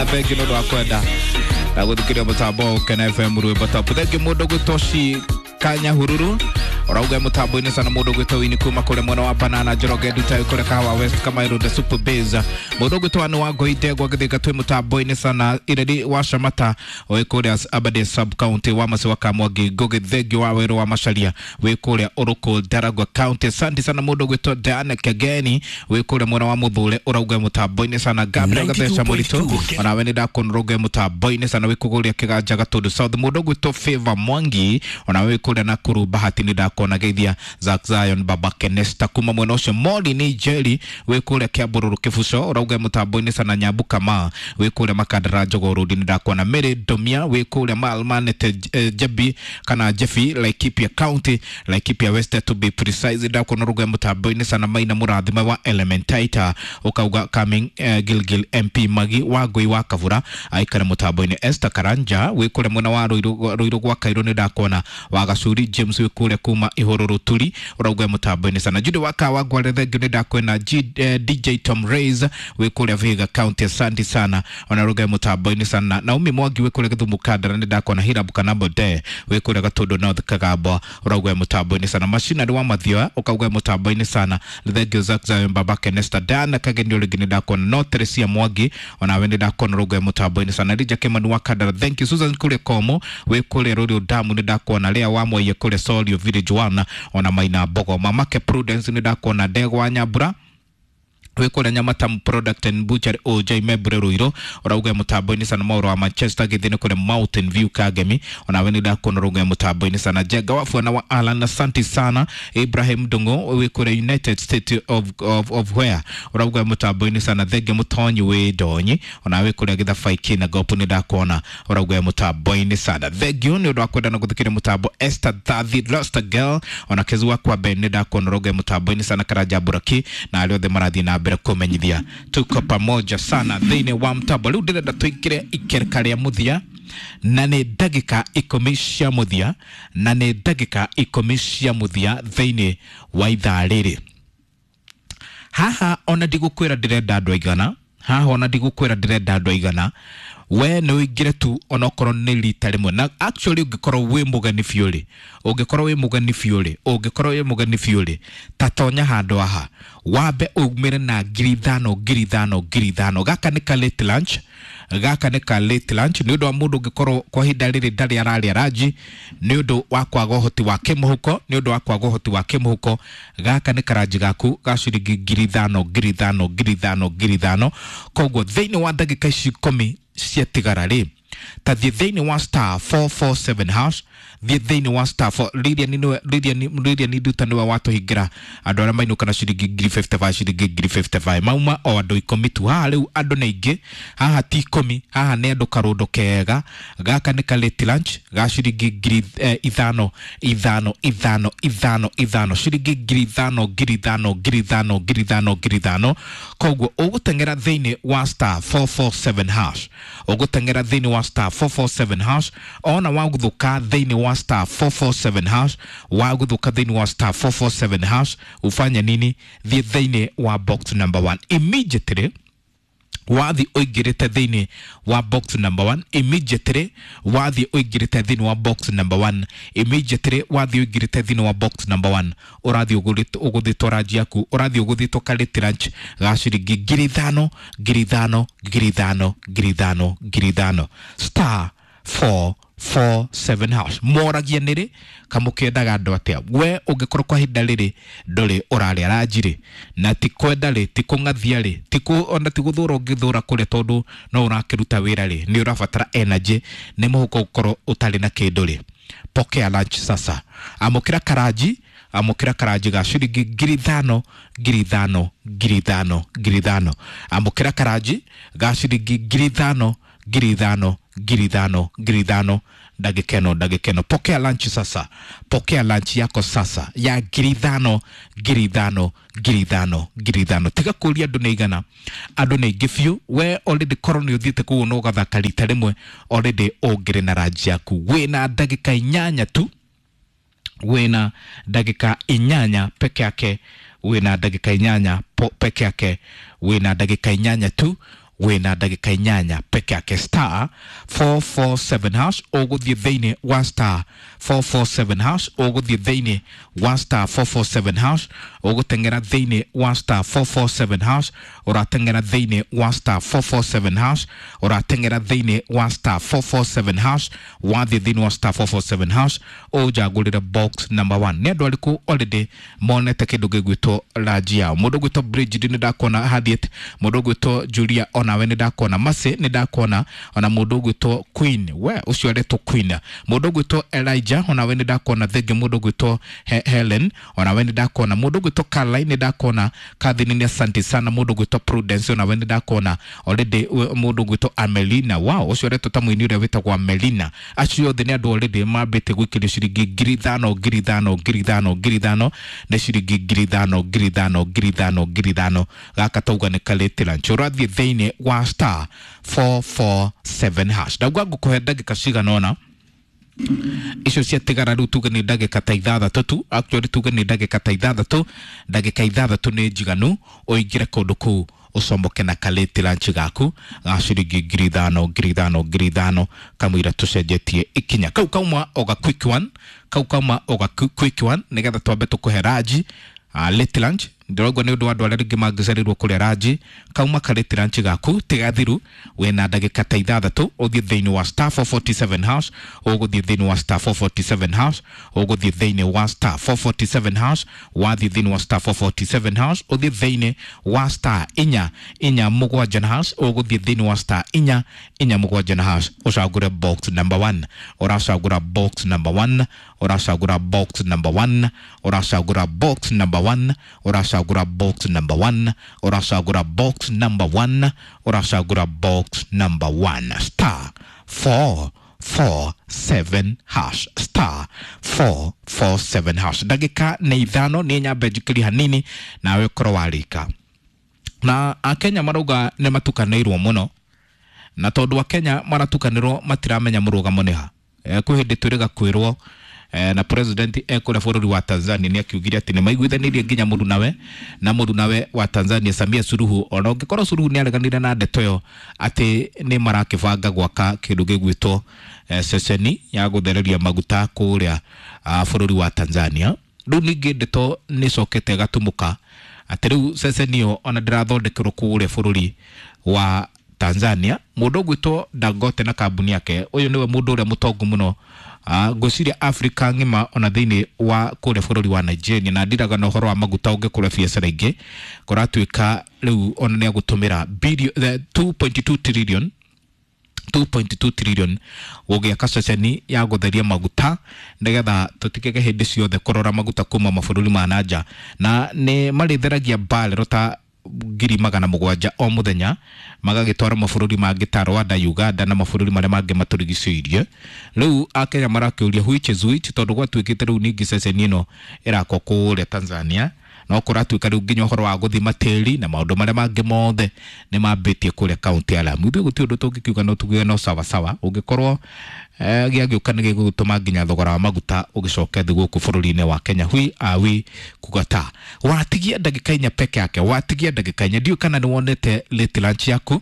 Thengi nä å ndå wa kwenda na gå thikä ria må tambo Kena FM rwä top. Thengi må ndå gwä two Kanyahururu urauga mutambo-inĩ sana mũndũ gwĩtwo wini kuma kũrĩa mwena wa banana Njoroge Ndutai kũrĩa Kahawa West Kamairo the Super Base. Mũndũ gwĩtwo nĩ wa Ngoi Ndegwa Gĩthĩka twĩ mutambo-inĩ sana Ireri wa Shamata wĩ kũrĩa Aberdare sub county wa Masi wa Kamwangi Ngũgĩ Thengi wa Werũ wa Macharia wĩ kũrĩa Ũrũkũ Ndaragwa county. Asante sana mũndũ gwĩtwo Diana Kageni wĩ kũrĩa mwena wa Mũthũre ũrauga mutambo-inĩ sana Gabriel Gatheca Mũritũ onawe nĩ ndakuona mũtambo-inĩ sana wĩ kũgũrĩa Kĩganja Gatũndũ South. Mũndũ gwĩtwo Favor Mwangi onawe wĩ kũrĩa Nakuru Bahati nĩ ndakuona geithia Zack Zion Baba Kenesta kuma mwena ũcio. Moli ni Jerry wĩ kũrĩa Kĩambũrũrũ Kĩbuco ũrauga mũtambo-inĩ sana Nyambu Kama wĩ kũrĩa Makandara Jogoo Road nĩ ndakuona. Mary Domia wĩ kũrĩa Malmanete Jebi kana Jefi Laikipia County Laikipia West to be precise ndakuona ũrauga mũtambo-inĩ sana Maina Mũrathime wa Elementaita ũkauga coming Gilgil MP Magi wa Ngui wa Kabura aikare mũtambo-inĩ. Esther Karanja wĩ kũrĩa mwena wa Ruiru gwa Kairũ nĩ ndakuona. Wa Gacuri James wĩ kũrĩa kuma Ihũrũrũ Turi ũrauga mũtambo-inĩ sana. Jude wa Kawa Ngware thengiũ nĩ ndakwena. DJ Tom Rays wĩ kũrĩa Vihiga County asante sana ona ũrauga mũtambo-inĩ sana. Naomi Mwangi wĩ kũrĩa Gĩthumo Kandara nĩ ndakuona. Hirabu Kanambo De wĩ kũrĩa Gatũndũ North Kagambwa ũrauga mũtambo-inĩ sana. Macinarĩ wa Mathioya ũkauga mũtambo-inĩ sana. Thengiũ Zack Zion Baba Kenesta Diana Kageni rĩngĩ nĩ ndakuona. No Teresia Mwangi onawe nĩ ndakuona ũrauga mũtambo-inĩ sana. Elijah Kimani wa Kandara thank you. Susan kũrĩa Komo wĩ kũrĩa Rũriũ Damu nĩ ndakuona. Lea wa Mwaiye kũrĩa Solio Village 1 ona Maina Mbogo. Mamake Prudence nĩ ndakuona. Ndegwa Nyambura wĩ kũrĩa Nyamatamu Product and Butchery OJ Membure Ruiru ũrauga mũtambo-inĩ sana. Maũro wa Manchester gĩthĩ nĩ kũrĩa Mountain View Kagemi onawe nĩ ndakuona ũrauga mũtambo-inĩ sana. Jenga wa Fuana wa Alan asante sana. Ibrahim Ndung'u wĩ kũrĩa United States of where ũrauga mũtambo-inĩ sana. Thenge Mũtonyi wĩ Ndonyi onawe kũrĩa Gĩthabai kĩna Gopu nĩ ndakuona ũrauga mũtambo-inĩ sana. Thengiũ nĩ ũndũ wa kwenda na gũthikĩrĩria mũtambo. Esther Thathi Lost Girl ona Kezu wa kwa Ben nĩ ndakuona ũrauga mũtambo-inĩ sana. Karanja Buraki na arĩa othe marathiĩ na mbere kumenyithia tuko pamoja sana thĩinĩ wa mtambo. Rĩu ndĩrenda tũingĩre ikereka rĩa mũthia na nĩ ndagĩka 10 cia mũthia na nĩ ndagĩka 10 cia mũthia thĩinĩ wa ithaa rĩrĩ. Haha ona ndigũkwĩra ndĩrenda andũ aigana, haha ona ndigũkwĩra ndĩrenda andũ aigana, we nĩ ũingĩre tu onokorwo nĩ rita rĩmwe. Na actually ũngĩkorwo wĩ mũgeni biũ rĩ, ũngĩkorwo wĩ mũgeni biũ rĩ, ũngĩkorwo wĩ mũgeni biũ rĩ, ta tonya handũ haha wambe umĩre na 5,000 5,000 5,000. Gaka nĩ ka late lunch, gaka nĩ ka late lunch nĩ ũndũ wa mũndũ ũngĩkorwo kwa ihinda rĩrĩ ndarĩ ararĩa ranji nĩ ũndũ wa kwaga ũhoti wa kĩmũhuko, nĩ ũndũ wa kwaga ũhoti wa kĩmũhuko. Gaka nĩ karanji gaku ga ciringi 5,000 5,000 5,000 5,000. Koguo thĩinĩ wa ndagĩka ici 10 ciatigara rĩ, ta thiĩ thĩinĩ wa star 447 hash, thiĩ thĩinĩ wa star 4 Lilian Nduta nĩwe watũhingĩra andũ arĩa mainũka na ciringi 55 ciringi 55 mauma o andũ 10 tu. Haha rĩu andũ nĩ aingĩ, haha ti 10, haha nĩ andũ karũndo kega. Gaka nĩ ka late lunch ga ciringi 5,000 5,000 5,000 5,000 5,000 ciringi 5,000 5,000 5,000 5,000 5,000. Koguo ũgũteng'era thĩinĩ wa star 447 hash, ũgũteng'era thĩinĩ wa star 447 hash ona wagũthũka thĩinĩ wa star 447 hash, wagũthũka thĩinĩ wa star 447 hash ufanye nini? Thiĩ thĩinĩ wa box number 1 immediately. Wathi ũingĩrĩte thĩinĩ wa box number 1 immediately, wathi ũingĩrĩte thĩinĩ wa box number 1 immediately, wathi ũingĩrĩte thĩinĩ wa box number 1 ũrathiĩ ũgũthĩtwo ranji yaku, ũrathiĩ ũgũthĩtwo ka late lunch ga ciringi 5,000 5,000 5,000 5,000 5,000 star 447 hash. Moragia nĩrĩ kamũkĩendaga andũ atĩa? We ũngĩkorwo kwa ihinda rĩrĩ ndũrĩ ũrarĩa ranji rĩ, na ti kwenda rĩ, ti kũng'athia rĩ, ona ti gũthũra ũngĩthũra kũrĩa tondũ no ũrakĩruta wĩra rĩ, nĩ ũrabatara energy, nĩ mũhuko gũkorwo ũtarĩ na kĩndũ rĩ, pokea lunch sasa. Amũkĩra karanji, amũkĩra karanji ga ciringi 5,000 5,000 5,000 5,000. Amũkĩra karanji ga ciringi 5,000 5,000 5,000 5,000. Ndagĩka ĩno, ndagĩka ĩno. Pokea lunch sasa, pokea lunch yako sasa ya 5,000 5,000 5,000 5,000. Tiga kũria andũ nĩ igana, andũ nĩ aingĩ biũ. We already korwo nĩ ũthiĩte kũu na ũgathaka rita rĩmwe, already ũngĩrĩ na ranji yaku. Wĩna ndagĩka 8 tu, wĩna ndagĩka 8 peke yake, wĩna ndagĩka 8 peke yake, wĩna ndagĩka 8 tu. Wĩna ndagĩka 8 peke yake. Star 447 hash, ũgũthiĩ thĩinĩ wa star 447 hash, ũgũthiĩ thĩinĩ wa star 447 hash, ũgũteng'era thĩinĩ wa star 447 hash, ũrateng'era thĩinĩ wa star 447 hash, ũrateng'era thĩinĩ wa star 447 hash. Wathiĩ thĩinĩ wa star 447 hash, ũnjagũrĩre box number 1. Nĩ andũ arĩkũ already monete kĩndũ gĩgwĩtwo ranji yao? Mũndũ ũgwĩtwo Bridget nĩ ndakuona, Harriet, mũndũ ũgwĩtwo Julia onawe nĩ ndakuona, Mercy nĩ ndakuona, ona mũndũ ũgwĩtwo Queen, we ũcio aretwo Queen, mũndũ ũgwĩtwo Elijah onawe nĩ ndakuona, thengi mũndũ ũgwĩtwo Helen onawe nĩ ndakuona, mũndũ ũgwĩtwo Caroline nĩ ndakuona, Catherine nĩ asante sana, mũndũ ũgwĩtwo Prudence onawe nĩ ndakuona already, mũndũ ũgwĩtwo Amelina, wow, ũcio aretwo ta mũini ũrĩa wĩtagwo Amelina. Acio othe nĩ andũ already mambĩte gwĩkĩrio ciringi 5,000, 5,000, 5,000, 5,000, nĩ ciringi 5,000, 5,000, 5,000, 5,000. Gaka tauga nĩ kalĩtĩ lunch. Ũrathiĩ thĩinĩ wa star 447 hash. Ndauga ngũkũhe ndagĩka cigana ũna icio ciatigara rĩu, tuge nĩ ndagĩka ta 6 tu, actually tuge nĩ ndagĩka ta 6. Ndagĩka 6 nĩ njiganu ũingĩre kũndũ kũu ũcomoke na kalĩti lunch gaku ga ciringi 5,000, 5,000, 5,000, kamũira tũcenjetie ikinya. Kau kauma oga quick one, kau kauma oga quick one, nĩgetha twambe tũkũhe ranji, late lunch. Ndĩraigua nĩ ũndũ wa andũ arĩa rĩngĩ mangĩcereirwo kũrĩa ranji. Kauma karĩti lunch gaku tigathiru. Wĩna ndagĩka ta 6, ũthiĩ thĩinĩ wa star 447 hash, ũgũthiĩ thĩinĩ wa star 447 hash, ũgũthiĩ thĩinĩ wa star 447 hash. Wathiĩ thĩinĩ wa star 447 hash, ũthiĩ thĩinĩ wa star 447 na hash, ũgũthiĩ thĩinĩ wa star 447 na hash, ũcagũre box number 1. Ũracagũra box number 1, ũracagũra box number 1, ũracagũra box number 1, ũracagũra box number 1, ũracagũra box number 1, ũracagũra box number 1, star 447 hash, star 447 hash. Ndagĩka nĩ 5, nĩ nyambe njikĩrie hanini nawe ũkorwo warĩka. Na akenya marauga nĩ matukanĩirwo mũno, na tondũ akenya maratukanĩrwo matiramenya mũrũgamo nĩ ha. Kwĩ hĩndĩ twĩrĩga kwĩrwo na president ekũrĩa bũrũri wa Tanzania nĩ akiugire atĩ nĩ maiguithanĩirie nginya mũrunawe na mũrunawe wa Tanzania Samia Suluhu, ona ũngĩkorwo Suluhu nĩ areganire na ndeto ĩyo atĩ nĩ marakĩbanga gwaka kĩndũ gĩgwĩtwo ceceni ya gũthereria maguta kũrĩa bũrũri wa Tanzania. Rĩu ningĩ ndeto nĩ ĩcokete ĩgatumũka atĩ rĩu ceceni ĩyo ona ndĩrathondekerwo kũrĩa bũrũri wa Tanzania. Mũndũ ũgwĩtwo Dangote na kambuni yake, ũyũ nĩwe mũndũ ũrĩa mũtongu mũno ngwĩciria Africa ng'ima, ona thĩinĩ wa kũrĩa bũrũri wa Nigeria, na ndiraga na ũhoro wa maguta ũngĩ kũrĩa biacara ingĩ kũratuĩka rĩu ona nĩ agũtũmĩra 2.2 trillion, 2.2 trillion gũgĩaka ceceni ya gũtheria maguta nĩgetha tũtigage hĩndĩ ciothe kũrora maguta kuma mabũrũri ma na nja, na nĩ marĩtheragia barrel ta 700,000 o mũthenya magagĩtwara mabũrũri mangĩ ta Rwanda, Uganda na mabũrũri marĩa mangĩ matũrigicĩirie. Rĩu akenya marakĩũria which is which, tondũ gwatuĩkĩte rĩu ningĩ ceceni ĩno ĩrakwo kũrĩa Tanzania, no kũratuĩka rĩu nginya ũhoro wa gũthima tĩri na maũndũ marĩa mangĩ mothe nĩ mambĩtie kũrĩa kaunti ya Lamu. Ithuĩ gũtirĩ ũndũ tũngĩkiuga, no tuge no sawa sawa, ũngĩkorwo gĩagĩũka nĩ gĩgũtũma nginya thogora wa maguta ũgĩcoke thĩ gũkũ bũrũri-inĩ wa Kenya. Hui awi kugata watigia ndagĩka 4 peke yake, watigia ndagĩka 4. Ndiũĩ kana nĩ wonete late lunch yaku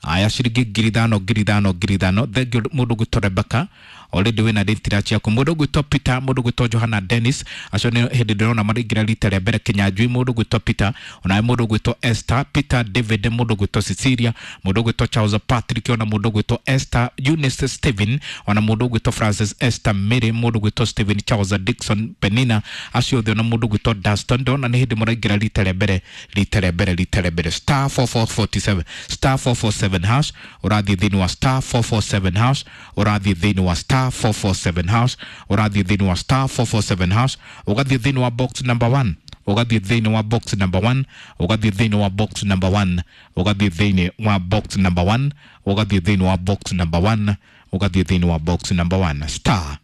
aya ciringi 5,000, 5,000, 5,000. Thengiũ mũndũ ũgwĩtwo Rebecca, already wĩna late lunch yaku, mũndũ ũgwĩtwo Peter, mũndũ ũgwĩtwo Johanna Dennis, acio nĩ hĩndĩ ndĩrona maraingĩra rita rĩa mbere. Kinyanjui, mũndũ ũgwĩtwo Peter, onawe mũndũ ũgwĩtwo Esther Peter David, mũndũ ũgwĩtwo Cecilia, mũndũ ũgwĩtwo Charles Patrick, ona mũndũ ũgwĩtwo Esther Eunice Stephen, ona mũndũ ũgwĩtwo Francis Esther Mary, mũndũ ũgwĩtwo Stephen Charles Dixon Penina, acio othe, ona mũndũ ũgwĩtwo Daston, ndona nĩ hĩndĩ mũraingĩra rita rĩa mbere, rita rĩa mbere, rita rĩa mbere. Star 4447, star 447 hash, ũrathiĩ thĩinĩ wa star 447 hash, ũrathiĩ thĩinĩ wa star 447 hash, ũrathiĩ thĩinĩ wa star 447 hash, ũgathiĩ thĩinĩ wa box number 1, ũgathiĩ thĩinĩ wa box number 1, ũgathiĩ thĩinĩ wa box number 1, ũgathiĩ thĩinĩ wa box number 1, ũgathiĩ thĩinĩ wa box number 1, ũgathiĩ thĩinĩ wa box number 1, star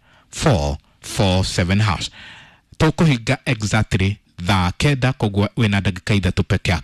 447 hash. Tũkũhinga exactly thaa 9, koguo wĩna ndagĩka 3 peke yake.